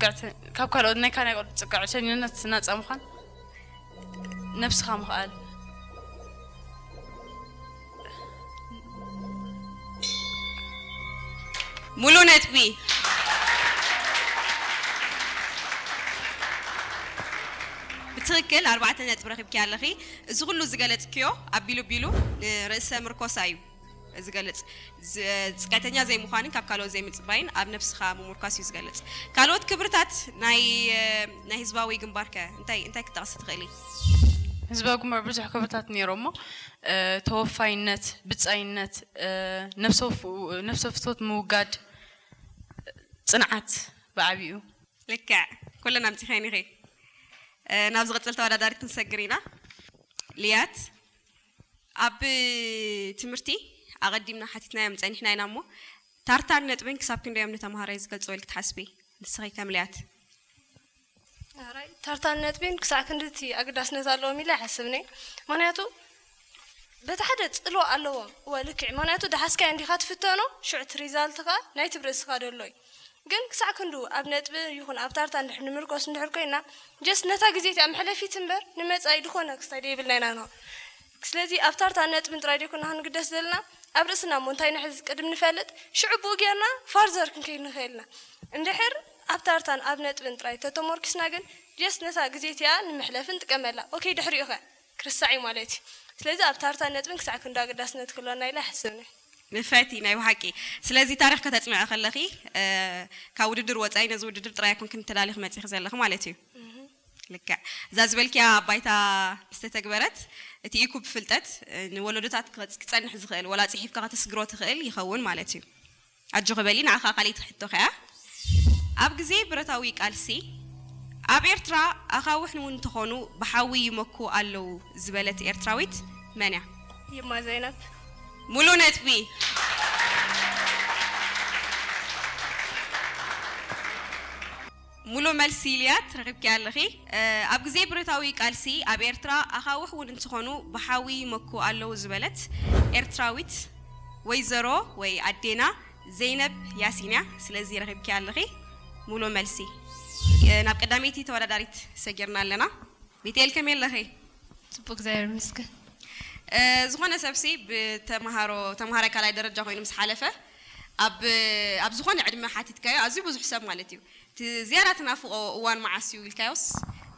ጽግዕተ-፣ ካብ ካልኦት ናይ ካልኦት ጽግዕተኝነት ናጻ ምዃን፣ ነብስኻ ምኽኣል። ሙሉ ነጥቢ። ብትኽክል ኣርባዕተ ነጥቢ ረኺብኪ ኣለኺ። እዚ ኩሉ ዝገለጽክዮ ኣቢሉ ቢሉ ንርእሰ ምርኮሳ እዩ ዝገልጽ። ዝ-፣ ጽግዕተኛ ዘይምዃንን ካብ ካልኦት ዘይምጽባይን ኣብ ነብስኻ ምሙርካስ እዩ ዝገልጽ። ካልኦት ክብርታት ናይ፣ ናይ ህዝባዊ ግንባር ከ እንታይ፣ እንታይ ክትጠቕሲ ትኽእሊ? ህዝባዊ ግንባር ብዙሕ ክብርታት ነይሮሞ፣ እ፣ ተወፋይነት፣ ብጻይነት፣ እ፣ ነብሰ-፣ ነብሰ ፍትወት ምውጋድ፣ ጽንዓት ብዓቢኡ። ልክዕ፣ ኩለን ኣምጺኸን ኢኺ። እ፣ ናብ ዝቕጽል ተወዳዳሪት ክንሰግር ኢና። ልያት፣ ኣብ ትምህርቲ ኣቐዲምና ሓቲትናዮም ጸኒሕና ኢና እሞ፣ ታርታን ነጥብን ክሳብ ክንደዮም ንተምሃራይ ዝገልጽዎ ኢልኪ ትሓስቢ? ንስኺ ከም ልያት። ኣራይ፣ ታርታን ነጥቢን ክሳዕ ክንድቲ ኣገዳስነት ኣለዎም ኢለ ኣይሓስብን እየ። ምኽንያቱ በቲ ሓደ ጽልዋ ኣለዎም። እወ፣ ልክዕ። ምኽንያቱ ደሓስካዮ እንዲኻ ትፍተኖ፣ ሽዑ እቲ ሪዛልትኻ ናይቲ ብርእስኻ ደሎ እዩ። ግን ክሳዕ ክንዱ ኣብ ነጥቢ ይኹን ኣብ ታርታ እንድሕር ንምርኮስ እንድሕር ኮይና፣ ጀስት ነታ ግዜ እቲኣ መሕለፊት እምበር ንመጻኢ ዝኾነ ክስታይ ደይብልና ኢና ንኾን። ስለዚ ኣብ ታርታ ነጥብን ጥራይ ደይኮና ክንግደስ ዘለና፣ ኣብ ርእስና እሞ እንታይ ንሕዝ ቅድም ንፈልጥ፣ ሽዑ ብኡ ጌርና ፋርዘር ክንከይድ ንኽእል ኢና። እንድሕር ኣብ ታርታን ኣብ ነጥብን ጥራይ ተተሞርኪስና ግን፣ ጀስት ነታ ግዜ እቲኣ ንምሕለፍ ንጥቀመላ። ኦኬ፣ ድሕሪኡ ኸ? ክርስዕ እዩ ማለት እዩ። ስለዚ ኣብ ታርታን ነጥብን ክሳዕ ክንዱ ኣገዳስነት ክህልወና ኢለ ኣይሓስብን እየ። ንፍዕቲ፣ ናይ ብሓቂ። ስለዚ ታሪኽ ከተጽንዒ ከለኺ፣ እ፣ ካብ ውድድር ወጻኢ ነዚ ውድድር ጥራይ ኣይኮንክን ተዳሊኺ መጺኺ ዘለኺ ማለት እዩ። ልክዕ። እዛ ዝበልክያ ባይታ ምስ ተተግበረት፣ እቲ ኢኩ ብፍልጠት፣ እ፣ ንወለዶታት ክጸ-፣ ክጸንሕ ዝኽእል፣ ወላ ጽሒፍካ ከተስግሮ ትኽእል ይኸውን ማለት እዩ። ኣጆኺ በሊ፣ ንዓኻ ካልኣይቲ ሕቶ ከኣ። ኣብ ግዜ ብረታዊ ቃልሲ፣ ኣብ ኤርትራ ኣኻውሕ እውን እንተኾኑ ብሓዊ ይመኩ ኣለዉ ዝበለት ኤርትራዊት መን እያ? ይማ ዘይነብ። ሙሉ ነጥቢ። ሙሉ መልሲ ኢልያት ረኺብኪ ኣለኺ። እ፣ ኣብ ግዜ ብረታዊ ቃልሲ ኣብ ኤርትራ ኣኻውሕ እውን እንትኾኑ ብሓዊ ይመኩ ኣለዉ ዝበለት ኤርትራዊት ወይዘሮ ወይ ኣዴና ዘይነብ ያሲን እያ። ስለዚ ረኺብኪ ኣለኺ ሙሉ መልሲ። እ፣ ናብ ቀዳመይቲ ተወዳዳሪት ሰጊርና ኣለና። ቤቴል ከመይ ኣለኺ? ጽቡቅ እግዚኣብሔር ይመስገን። እ፣ ዝኾነ ሰብሲ ብተምሃሮ፣ ተምሃራይ ካልኣይ ደረጃ ኮይኑ ምስ ሓለፈ ኣብ፣ ኣብ ዝኾነ ዕድመ ሓቲትካዮ ኣዝዩ ብዙሕ ሰብ ማለት እዩ። እቲ ዝያዳ ትናፍቆ እዋን መዓስ እዩ ኢልካዮስ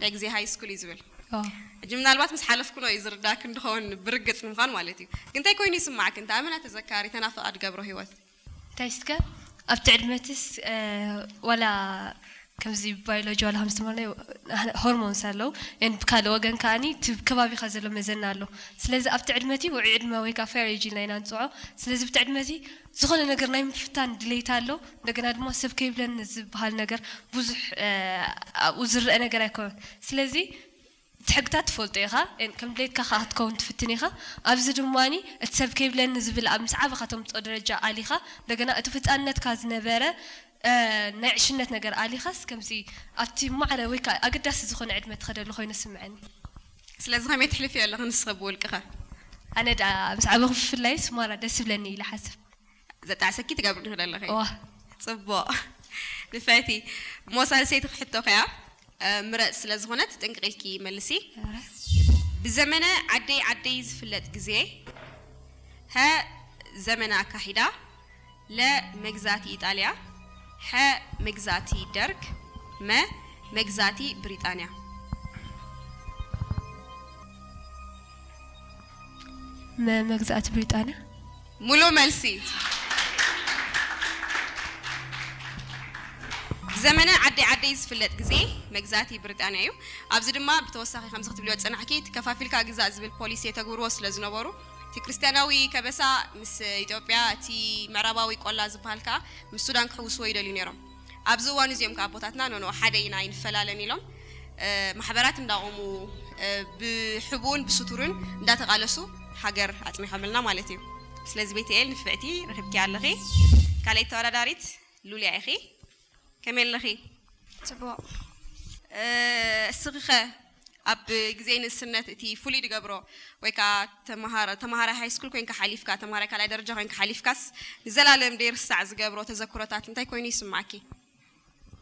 ናይ ግዜ ሃይ ስኩል እዩ ዝብል። ኣዎ። ሕጂ ምናልባት ምስ ሓለፍኩኖ እዩ ዝርዳእክ እንድኸውን ብርግጽ ንምዃን ማለት እዩ። ግን እንታይ ኮይኑ ይስማዕክ? እንታይ ኣመና ተዘካሪ ተናፍቃ ድገብሮ ህይወት? እንታይ እስከ ኣብቲ ዕድመትስ፣ እ፣ ዋላ ከምዚ ባዮሎጂ ዋላ ከም ዝተመርናዮ ሆርሞንስ ኣለዉ። ን ብካልእ ወገን ከኣኒ እቲ ከባቢኻ ዘሎ መዘና ኣሎ። ስለዚ ኣብቲ ዕድመቲ ውዑይ ዕድመ ወይ ከዓ ፌር ኤጅ ኢልና ኢና ንፅዖ። ስለዚ ብቲ ዕድመቲ ዝኾነ ነገር ናይ ምፍታን ድሌት ኣሎ። እንደገና ድማ ሰብ ከይብለኒ ዝበሃል ነገር ብዙሕ፣ እ፣ ኣብኡ ዝረአ ነገር ኣይኮነን። ስለዚ እቲ ሕግታት ትፈልጦ ኢኻ። ን ከም ድሌትካ ከዓ ክትከውን ትፍትን ኢኻ። ኣብዚ ድማኒ እቲ ሰብ ከይብለኒ ዝብል ኣብ ምስ ዓበኻ ተምፅኦ ደረጃ ኣሊኻ። እንደገና እቲ ህፃንነትካ ዝነበረ፣ እ፣ ናይ ዕሽነት ነገር ኣሊኻስ ከምዚ ኣብቲ ማዕረ ወይ ከዓ ኣገዳሲ ዝኾነ ዕድመ ትኸደሉ ኮይኑ ስምዐኒ። ስለዚ ከመይ ትሕልፍዮ ኣለኺ ንስኺ ብውልቅኸ? ኣነ ደኣ ምስ ዓበኹ ብፍላይ ስማራ ደስ ይብለኒ ኢለ ሓስብ። ዘጣዕሰኪ ትገብሪ ዶ ኣለኺ? እዋ። ጽቡቕ። ንፈቲ እሞ ሳልሰይቲ ክሕቶ ከያ፣ እ፣ ምረጽ ስለ ዝኾነት ጥንቅቕ ኢልኪ መልሲ። እረ። ብዘመነ ዓደይ ዓደይ ዝፍለጥ ግዜ፣ ሀ፣ ዘመነ ኣካሒዳ፣ ለ፣ መግዛእቲ ኢጣልያ፣ ሐ፣ መግዛእቲ ደርግ፣ መ፣ መግዛእቲ ብሪጣንያ። መ፣ መግዛእቲ ብሪጣንያ። ሙሉ መልሲ። ብዘመነ ዓደይ ዓደይ ዝፍለጥ ግዜ መግዛእቲ ብሪጣንያ እዩ። ኣብዚ ድማ ብተወሳኺ ከምዚ ክትብልዮ ዝጸናሕኪ፣ እቲ ከፋፊልካ ግዛእ ዝብል ፖሊሲ የተግብርዎ ስለ ዝነበሩ፣ እቲ ክርስትያናዊ ከበሳ ምስ ኢትዮጵያ፣ እቲ ምዕራባዊ ቆላ ዝበሃል ከኣ ምስ ሱዳን ክሕውስዎ ይደልዩ ነይሮም። ኣብዚ እዋን እዚኦም ከኣ ኣቦታትና ኖኖ ሓደ ኢና ኣይንፈላለን ኢሎም፣ እ፣ ማሕበራት እንዳቆሙ፣ እ፣ ብሕቡእን ብስቱርን እንዳተቃለሱ ሃገር ኣጽኒሖምልና ማለት እዩ። ስለዚ ቤተኤል ንፍዕቲ ረኺብኪ ኣለኺ። ካልኣይቲ ተወዳዳሪት ሉልያ ኢኺ። ከመይ ኣለኺ? ጽቡቕ። እ፣ እስኺ ኸ ኣብ ግዜ ንእስነት እቲ ፍሉይ ዝገብሮ ወይ ከኣ ተመሃራ-፣ ተመሃራይ ሃይ ስኩል ኮይንካ ሓሊፍካ፣ ተመሃራይ ካልኣይ ደረጃ ኮይንካ ሓሊፍካስ ንዘላለም ደይርሳዕ ዝገብሮ ተዘክሮታት እንታይ ኮይኑ ይስማዓኪ?